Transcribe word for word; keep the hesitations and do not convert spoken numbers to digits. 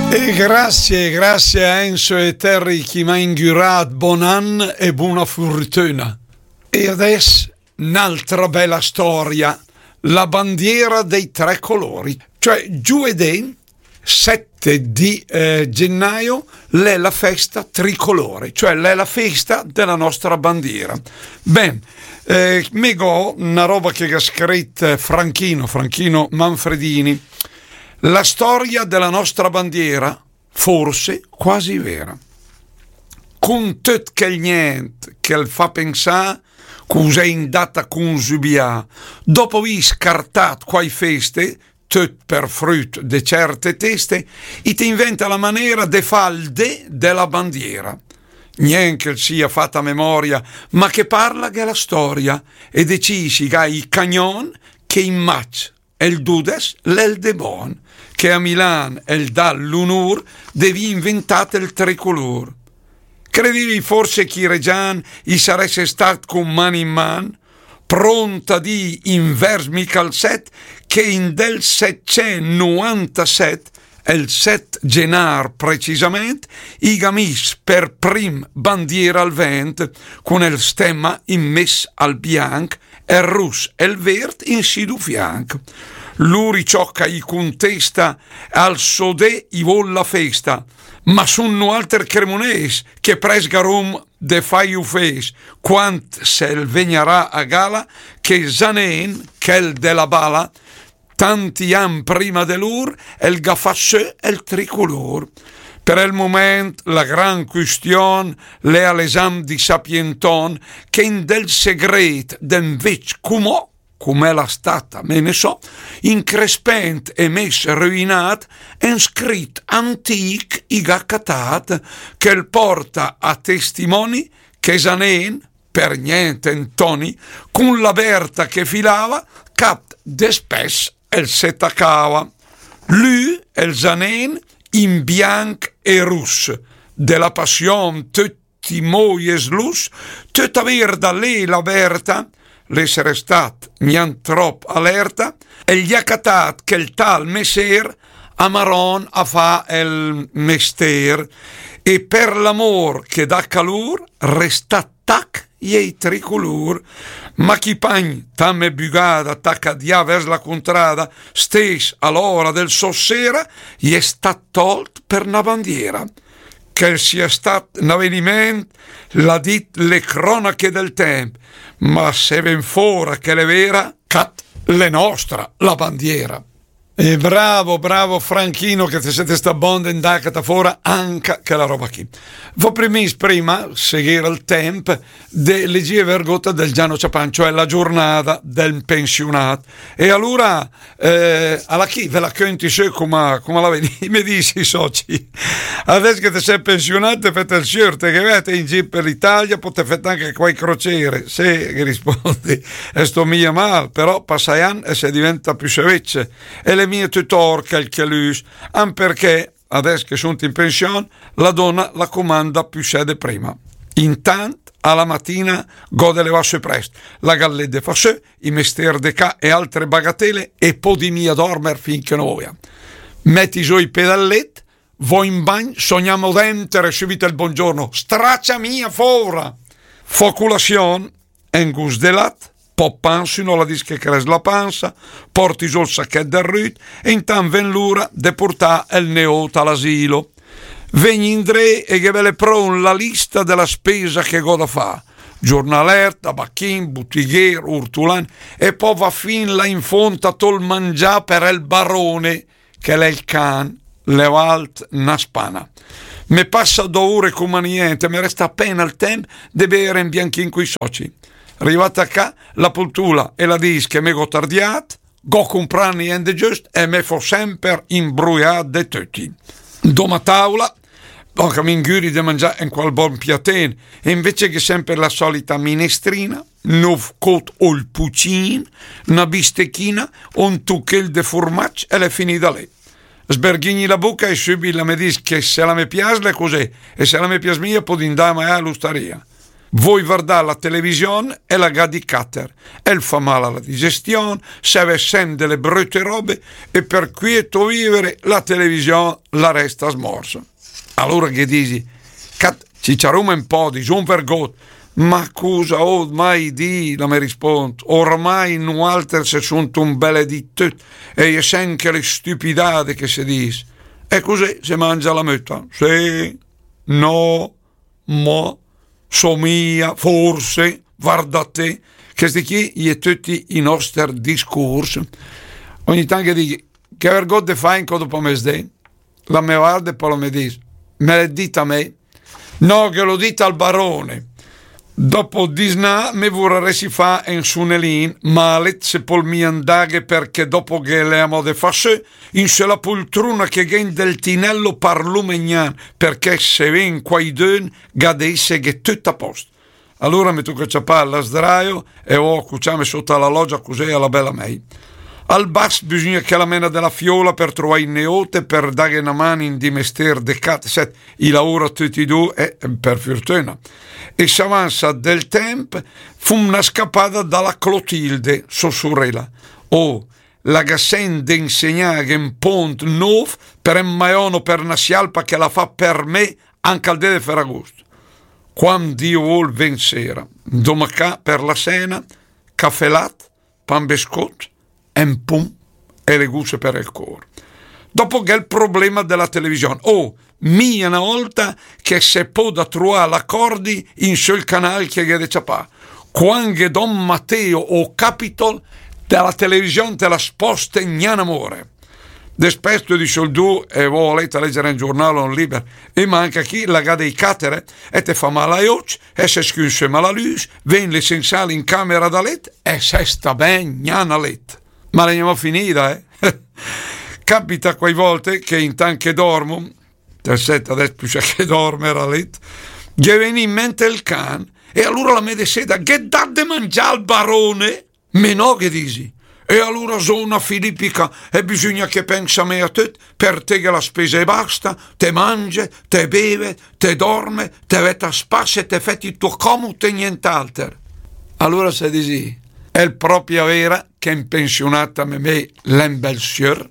E grazie, grazie a Enzo e Terry che m'à ingüràt, bon an e bona furtüna. E adès n'altra bella storia, la bandiera dei tre colori. Cioè, giovedì sette di eh, gennaio l'è la festa tricolore, cioè l'è la festa della nostra bandiera. Ben, eh, me gh'ó na roba che gh'à scrit Franchino, Franchino Manfredini. La storia della nostra bandiera, forse quasi vera. Con töt chel nient che 'l fa pensà, cus'è indàt a consübià, dopo avì scartàt quai feste, töt per früt de certe teste, i te inventa la manera de fà 'l dé de la bandiera. Nient che 'l sia fat a memoria, ma che parla gh'è la storia, e decìs i gh'à i cagnon che in maig el dudes l'è 'l dé bon, che a Milan el dà l'unur de vì inventàt el tricolur. Credivi forse che i regian i sarès stàcc con man in man, pront a dì invers Michel sette, che in del settecentnovantasette, el sette genar precisament, i gh'à mis per prim bandiera al vent, con el stemma in mes al bianc, el rus e 'l vert in si du fianc. Lur i ciò ch'a i contesta, al so dé i vol la festa, ma sun nualter cremonés che prest gh'arum de fai ufés, quant se 'l vegnarà a gala che Zanen, chel de la bala, tanti an prima de lur, el gh'à fat sö el tricolur. Per el moment la gran quistion l'è a l'esam di sapienton, che in del segret d'en vecc cumò, cum'è la stata me ne so, increspent e mes ruinat, en scrit antic i gh'à catàt, che 'l porta a testimoni che Zanen, per nient Antoni, con la berta che filava, cap de spess el se tacava. Lü, el Zanen, in bianc e rus, de la passion töt i moj e slus, töta verda l'è la berta, l'è restat gnant trop alerta, el gh'à catàt chel tal messer a Maron a fà el mester, e per l'amor che dà calur, restà tac i è i tricolur, ma chi pagn, tame bugada, taca dià vers la contrada, stes a l'ora del sossera, i è stat tolt per na bandiera. Che 'l sia stat n'aveniment, l'à dit le cronache del temp, ma se ven fora che l'è vera, cat l'è nostra la bandiera. E bravo, bravo Franchino, che te sét stat bon de 'ndà a catà fora anca chela roba chì. V'ó premìs prima, se gh'era el temp, de legì vergóta del Giano Ciapan, cioè la giornada del pensionat. E alura, eh, a la chì, ve la cönti sö coma, coma la vedi, me disi, soci. Adès che te sét pensionat, te fét el siör, te ghe vét in gir per l'Italia, pò te fét anca quai crociere, se, ghe rispondi, e sto mia mal, però passa i an e se diventa püssé vecc, e l'è mia töt or chel che lüs, an perché adès che sunt in pension, la dona la comanda püssé de prima. Intant, a la matina, gh'ó de levà sö prest, la gallé de fà sö, i mester de cà e altre bagatele, e podi mia dormer fin che no voia. Meti zó i pé dal let, vó in bagn, só gnamò denter e sübit el bongiorno, stracia mia fora! Fó culasion, en gust de lat, pò pan, se no la dis che crès la pansa, porti zó el sachèt del rüt, e intant ven l'ura de portà el neót a l'asilo. Vegni indré e ghe vele pront la lista de la spesa che gh'ó da fà. Giornalèr, tabachin, butighér, ortulan, e pò va fin là in font a tò el mangià per el barone, che l'è el can, l'è alt na spana. Me passa dò ure coma nient, me resta apena el temp de bere en bianchin coi soci. Rivata a cà, la pultula e la dis che me gh'ó tardiat, gh'ó comprà nient de giöst e me fó semper imbruià de töti. Doma taula, anca m'ingüri de mangià en qual bon piaten, e invece gh'è semper la solita minestrina, n'öv cót ol pucin, na bistechina, un tuchel de furmac e l'è finida lé. Sberghigni la buca e sübit la me dis che se la me pias l'è cusé, e se la me pias mia podi indà a magnà a l'ustaria. Vöi vardà la television e la gh'à di càter. El fa mal a la digestion, se vèd sèmp de le bröte robe e per quiet vìver la television la resta smorsa. Alura ghe disi: "Cat, ciciaróm ü pó, disóm vergót." "Ma cusa ót mai dì?", la me rispónd. "Ormai nualter se sóm ü bèl di töt, e i è sèmp chèle stüpidade che se dis." E cusé se mangia la möta. Sé, no, mo, somìa, forse, varda té, chèsti chì i è töcc i nòster discurs. Ògne tant che dighe: "Che vergót de fà incö dopo a mesdé?" La me varda e pò la me dis: "Me l'ét dit a mé?" "No, ghe l'ó dit al barone." "Dopo disnà me vurarèssi fà ü sunelin, ma a lét se pöl mia 'ndàghe, perché dopo ghe l'è amò de fà sö in sö la pultruna che gh'è in del tinèl par lu magnan, perché se ven quaidün gh'à de èsseghe töt a pòst. Alura me tóca ciapà la sdraio e vó a cuciàm sóta la lògia, cusé a la bèla mèi." Al bas bisògna che la mèna de la fióla per troà i neót, per dàghe na man in di mestér de cat, sèt, i laura töcc i du, e per furtüna. E s'avansa del tèmp, fóm na scapada da la Clotilde, sò surèla. Oh, la gh'à sèmp de insegnàghe ü pónt nóf, per ü maiòno, per na sialpa che la fa per mé anca al dé de Ferragust. Quand Dio völ, ven séra, domà ca per la sèna, cafè lat, pan bescót, ü pum e le gusse per el cór. Dopo gh'è el problema de la television. Oh, mia na ólta che se pöda troà l'acòrdi in sö 'l canàl che gh'è de ciapà. Quand ghe dóm Mateo o Capitol, de la television te la spòste gna n'amore. Despèsto di soldù e vó a lét a lèger ü giurnal o ü liber, e ma anca chì la gh'à de càter, e te fa mal ai ócc, e se scünse mal la lüs, ven le sensal in camera da lét, e se sta ben gna a lét. Ma l'è gnamò finida, eh? Capita quai vòlte che intant che dòrmo, te sét adès püssé che dòrmer a lét, ghe ven in mènt el can, e alura la me de sèda: "Gh'ét dat de mangià al barone?" "Me no", ghe disi. "E alura só na filipica, e bisògna che pènse mé a töt, per té gh'è la spesa e basta, te mange, te beve, te dòrme, te vèd a spass e te fèt i tò còmud e nient'alter." Alura se disi: "L'è pròpi vera che ü pensiunat a me, me l'è ü bèl siör."